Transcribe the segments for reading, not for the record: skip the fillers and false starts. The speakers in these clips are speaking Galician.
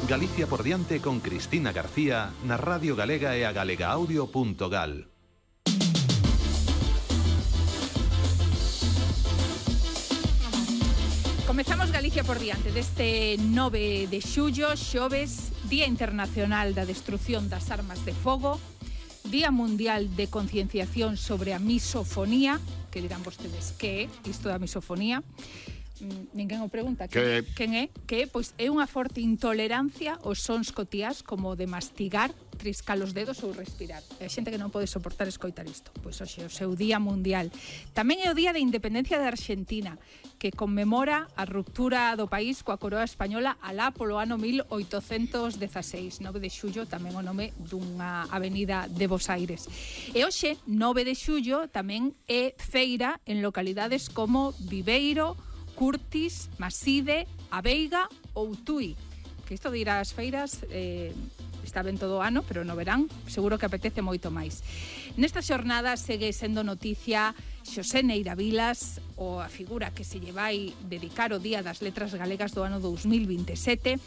Galicia por diante con Cristina García na Radio Galega e a galegaaudio.gal. Comezamos Galicia por diante deste 9 de xullo, xoves, Día Internacional da Destrucción das Armas de Fogo, Día Mundial de Concienciación sobre a Misofonía, que dirán vostedes, que é isto da misofonía? Ninguén o pregunta. Quen é? Que pois é unha forte intolerancia aos sons cotiás como o de mastigar, triscar os dedos ou respirar. É xente que non pode soportar escoitar isto. Pois hoxe é o seu Día Mundial. Tamén é o Día de Independencia de Argentina, que conmemora a ruptura do país coa coroa española alá polo ano 1816. 9 de xullo, tamén o nome dunha avenida de Bos Aires. E hoxe, 9 de xullo, tamén é feira en localidades como Viveiro, Curtis, Maside, A Veiga ou Tui. Que isto de ir ás feiras está ben todo o ano, pero no verán seguro que apetece moito máis. Nesta xornada segue sendo noticia Xosé Neira Vilas, ou a figura que se lle vai dedicar o Día das Letras Galegas do ano 2027,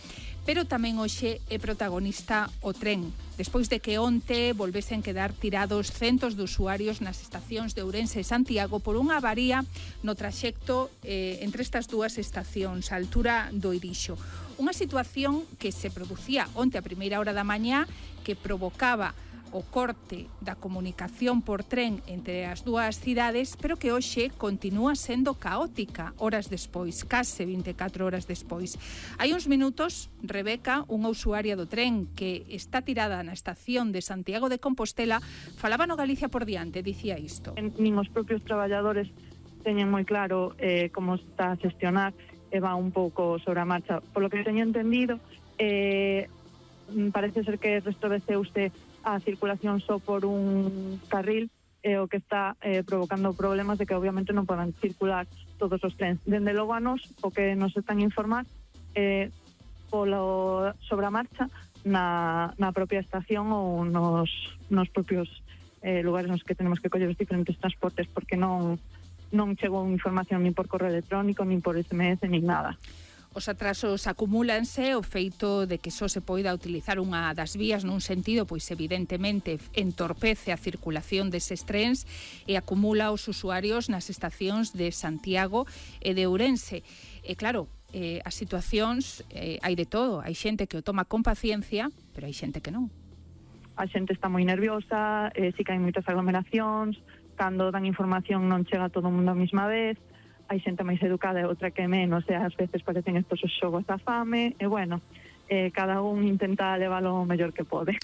pero tamén hoxe é protagonista o tren. Despois de que onte volvesen quedar tirados centos de usuarios nas estacións de Ourense e Santiago por unha avaría no traxecto entre estas dúas estacións, a altura do Irixo. Unha situación que se producía onte a primeira hora da mañá, que provocaba o corte da comunicación por tren entre as dúas cidades, pero que hoxe continúa sendo caótica horas despois, case 24 horas despois. Hai uns minutos, Rebeca, unha usuaria do tren que está tirada na estación de Santiago de Compostela, falaba no Galicia por diante, dicía isto. Nin os propios traballadores teñen moi claro como está a xestionar e va un pouco sobre a marcha. Por lo que teño entendido, parece ser que restableceuse a circulación só por un carril, o que está provocando problemas de que obviamente non podan circular todos os trens. Dende logo a nos, o que nos están a informar polo sobre a marcha na propia estación ou nos propios lugares nos que tenemos que coller os diferentes transportes, porque non chegou información nin por correo electrónico, nin por SMS, nin nada. Os atrasos acumúlanse, o feito de que só se poida utilizar unha das vías nun sentido, pois evidentemente entorpece a circulación deses trens e acumula os usuarios nas estacións de Santiago e de Ourense. E claro, as situacións hai de todo, hai xente que o toma con paciencia, pero hai xente que non. A xente está moi nerviosa, si que hai moitas aglomeracións, cando dan información non chega todo o mundo a mesma vez, hai xente máis educada e outra que menos, e ás veces parecen estos os xogos da fame, e bueno, cada un intenta leválo o mellor que pode.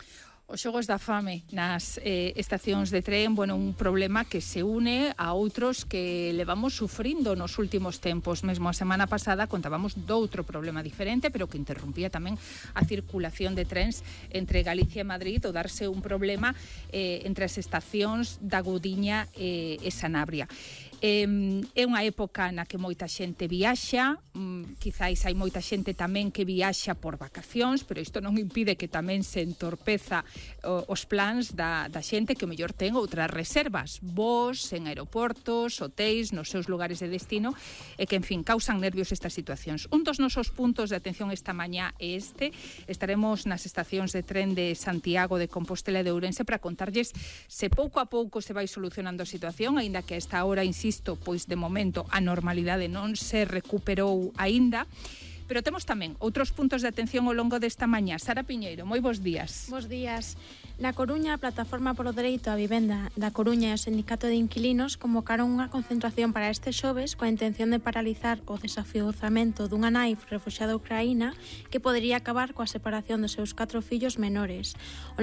Os xogos da fame nas estacións de tren, bueno, un problema que se une a outros que levamos sufrindo nos últimos tempos. Mesmo a semana pasada contábamos doutro problema diferente, pero que interrumpía tamén a circulación de trens entre Galicia e Madrid, o darse un problema entre as estacións da Gudiña e Sanabria. É unha época na que moita xente viaxa, quizáis hai moita xente tamén que viaxa por vacacións, pero isto non impide que tamén se entorpeza os plans da xente que o mellor ten outras reservas, voos en aeroportos, hotéis, nos seus lugares de destino, e que, en fin, causan nervios estas situacións. Un dos nosos puntos de atención esta mañá é este. Estaremos nas estacións de tren de Santiago de Compostela e de Ourense para contarlles se pouco a pouco se vai solucionando a situación, aínda que a esta hora, insisto, pois de momento a normalidade non se recuperou aínda. Pero temos tamén outros puntos de atención ao longo desta mañá. Sara Piñeiro, moi bons días. Bos días. Na Coruña, a Plataforma polo Dereito á Vivenda da Coruña e o Sindicato de Inquilinos convocaron unha concentración para este xoves coa intención de paralizar o desafiuzamento dunha nai refuxiada ucraína que podería acabar coa separación dos seus 4 fillos menores.